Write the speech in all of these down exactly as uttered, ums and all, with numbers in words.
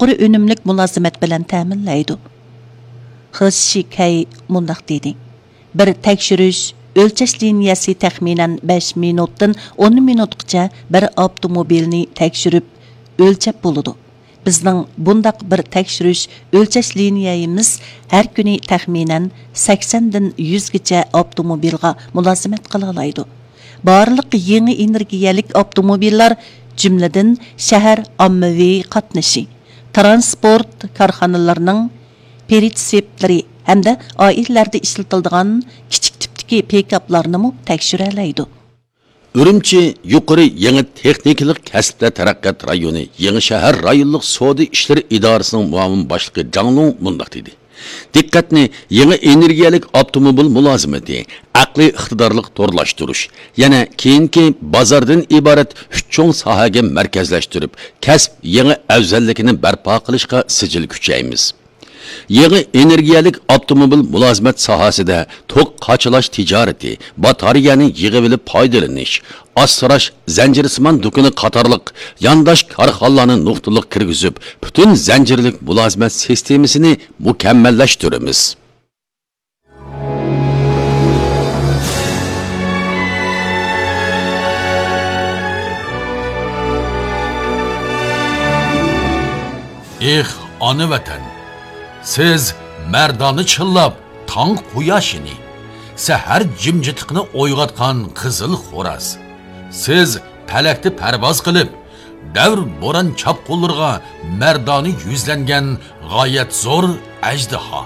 بىر ئۈنۈملۈك مۇلازىمەت بىلەن تەمىنلەيدۇ. خې شىكەي مۇنداق دېدى: بىر تەكشۈرۈش، ئۆلچەش لىنىيەسى تەخمىنەن بەش مىنۇتتىن ئون مىنۇتقىچە بىر ئاپتوموبىلنى تەكشۈرۈپ، ئۆلچەپ بولىدۇ. بىزنىڭ بۇنداق بىر تەكشۈرۈش، ئۆلچەش لىنىيەيىمىز ھەر كۈنى تەخمىنەن سەكسەندىن يۈزگىچە ئاپتوموبىلغا مۇلازىمەت قىلالايدۇ. بارلىق يېڭى ئېنېرگىيەلىك ئاپتوموبىللار، جۈملىدىن شەھەر ئاممىۋى قاتنىشى، تىرانسپورت كارخانىلىرىنىڭ پرىتسېپلىرى ھەمدە ئائىلىلەردە ئىشلىتىلىدىغان كىچىك تىپتىكى پىكاپلارنىمۇ تەكشۈرەلەيدۇ. ئۈرۈمچى يۇقىرى يېڭى تېخنىكىلىق كەسىپلەر تەرەققىيات رايونى يېڭى شەھەر رايونلۇق سودا ئىشلىرى ئىدارىسىنىڭ مۇئاۋىن باشلىقى جاڭ لۇڭ مۇنداق دېدى: دىققەتنى يېڭى ئېنېرگىيەلىك ئاپتوموبىل مۇلازىمىتى، ئەقلىي ئىقتىدارلىق تورلاشتۇرۇش، يەنە كېيىنكى بازاردىن ئىبارەت ئۈچ چوڭ ساھەگە مەركەزلەشتۈرۈپ، كەسىپ يېڭى ئەۋزەللىكىنى بەرپا قىلىشقا سىجىل كۈچەيمىز. يېڭى ئېنېرگىيەلىك ئاپتوموبىل مۇلازىمەت ساھەسىدە توك قاچىلاش تىجارىتى، باتارېيەنى يىغىۋېلىپ پايدىلىنىش، ئاسراش زەنجىرسىمان دۇكىنى قاتارلىق يانداش كارخانىلارنى نۇقتىلىق كىرگۈزۈپ، پۈتۈن زەنجىرلىك مۇلازىمەت سىستېمىسىنى مۇكەممەللەشتۈرىمىز. ئېھ، ئانا ۋەتەن! سىز مەردانە چىللاپ تاڭ قۇياشىنى، سەھەر جىمجىتلىقىنى ئويغاتقان قىزىل خوراز. سىز پەلەكتە پەرۋاز قىلىپ، دەۋر بوران چاپقۇنلىرىغا مەردانە يۈزلەنگەن غايەت زور ئەجدىھا.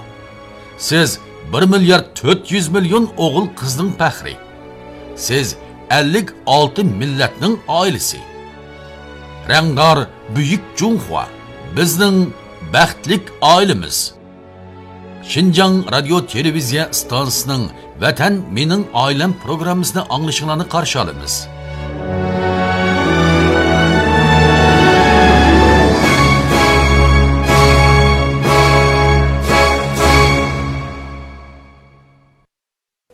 سىز بىر مىليارد تۆت يۈز مىليون ئوغۇل قىزنىڭ پەخرى. سىز ئەللىك ئالتە مىللەتنىڭ ئائىلىسى. رەڭدار بۈيۈك جۇڭخۇا، بىزنىڭ بەختلىك ئائىلىمىز. شىنجاڭ رادىيو تېلېۋىزىيە ئىستانسىسىنىڭ ۋەتەن مېنىڭ ئائىلەم پروگراممىسىنى ئاڭلىشىڭلارنى قارشى ئالىمىز.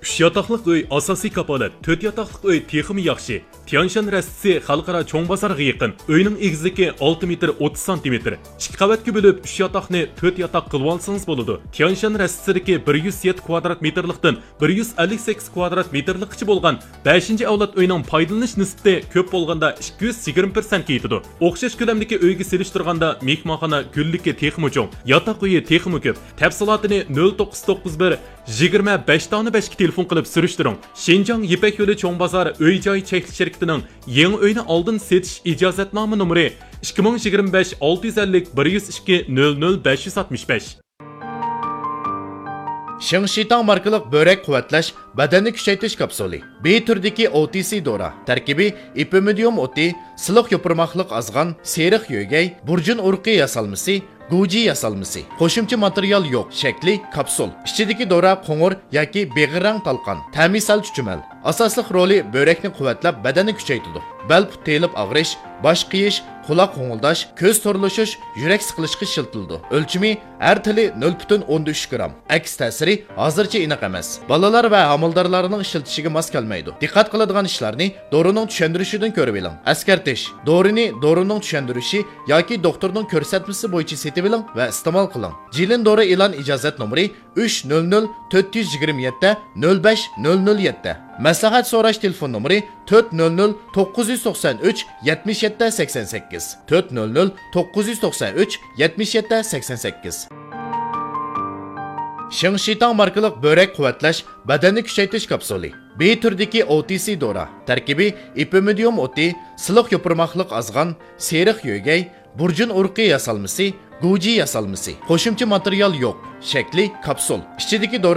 ئۈچ ياتاقلىق ئۆي ئاساسىي كاپالەت، تۆت ياتاقلىق ئۆي تېخىمۇ ياخشى. تيانشان رەستىسى خەلقئارا چوڭ بازارغا يېقىن. ئۆينىڭ ئېگىزلىكى ئالتە مېتىر ئوتتۇز سانتىمېتىر. ئىككى قەۋەتكە بۆلۈپ، ئۈچ ياتاقنى تۆت ياتاق قىلىۋالسىڭىز بولىدۇ. تيانشان رەستىسىدىكى بىر يۈز يەتتە كۋادرات مېتىرلىقتىن بىر يۈز ئەللىك سەككىز كۋادرات مېتىرلىققىچە بولغان بەشىنچى ئەۋلاد ئۆينىڭ پايدىلىنىش نىسبىتى كۆپ بولغاندا ئىككى يۈز يىگىرمە پىرسەنتكە يېتىدۇ. ئوخشاش كۆلەمدىكى ئۆيگە سېلىشتۇرغاندا مېھمانخانا گۈللۈكى تېخىمۇ چوڭ، ياتاق ئۆيى تېخىمۇ كۆپ. تەپسىلاتىنى نۆل توققۇز توققۇز بىر، يىگىرمە بەش دانە بەشكە تېلېفون قىلىپ سۈرۈشتۈرۈڭ. شىنجاڭ يىپەك يولى چوڭ بازار ئۆي جاي چەكلىك شىركىتىنىڭ يېڭى ئۆينى ئالدىن سېتىش ئىجازەتنامە نومۇرى ئىككى مىڭ يىگىرمە بەش ئالتە يۈز ئەللىك بىر يۈز ئىككى نۆل نۆل بەش يۈز ئاتمىش بەش. شېڭشىتاڭ ماركىلىق بۆرەك قۇۋۋەتلەش، بەدەننى كۈچەيتىش كاپسۇلى. بى تۈرىدىكى ئو تى سى دورا. تەركىبى ئېپىمىدىيۇم ئوتى، سىلىق يوپۇرماقلىق ئازغان، سېرىق يۆگەي، بۇرجۇن ئۇرۇقى ياسالمىسى، گۇجى ياسالمىسى. قوشۇمچە ماتېرىيال يوق. شەكلى كاپسۇل. ئىچىدىكى دورا قوڭۇر ياكى بېغىر رەڭ تالقان. تەمى سەل چۈچۈمەل. ئاساسلىق رولى بۆرەكنى قۇۋۋەتلەپ، بەدەننى كۈچەيتىدۇ. بەل پۇت تېيىلىپ ئاغرىش، باش قېيىش، قۇلاق غوڭۇلداش، كۆز تورلىشىش، يۈرەك سىقىلىشقا ئىشلىتىلىدۇ. ئۆلچىمى ھەر تىلى نۆل پۈتۈن ئوندىن ئۈچ گرام. ئەكس تەسىرى ھازىرچە ئېنىق ئەمەس. بالىلار ۋە ھامىلىدارلارنىڭ ئىشلىتىشىگە ماس كەلمەيدۇ. دىققەت قىلىدىغان ئىشلارنى دورىنىڭ چۈشەندۈرۈشىدىن كۆرۈۋېلىڭ. ئەسكەرتىش: دورىنى دورىنىڭ چۈشەندۈرۈشى ياكى دوختۇرنىڭ كۆرسەتمىسى بويىچە سېتىۋېلىڭ ۋە ئىستېمال قىلىڭ. جىلىن دورا ئېلان ئىجازەت نومۇرى ئۈچ نۆل نۆل تۆت يۈز يىگىرمە يەتتە نۆل بەش نۆل نۆل يەتتە. مەسلىھەت سوراش تېلېفون نومۇرى تۆت نۆل نۆل توققۇز يۈز توقسان ئۈچ يەتمىش يەتتە سەكسەن سەككىز، تۆت نۆل نۆل توققۇز يۈز توقسان ئۈچ يەتمىش يەتتە سەكسەن سەككىز. شېڭشىتاڭ ماركىلىق بۆرەك قۇۋۋەتلەش، بەدەننى كۈچەيتىش كاپسۇلى. بى تۈرىدىكى ئو تى سى دورا. تەركىبى ئېپىمىدىيۇم ئوتى، سىلىق يوپۇرماقلىق ئازغان، سېرىق يۆگەي، بۇرجۇن ئۇرۇقى ياسالمىسى، گۇجى ياسالمىسى. قوشۇمچە ماتېرىيال يوق. شەكلى كاپسۇل. ئىچىدىكى دورا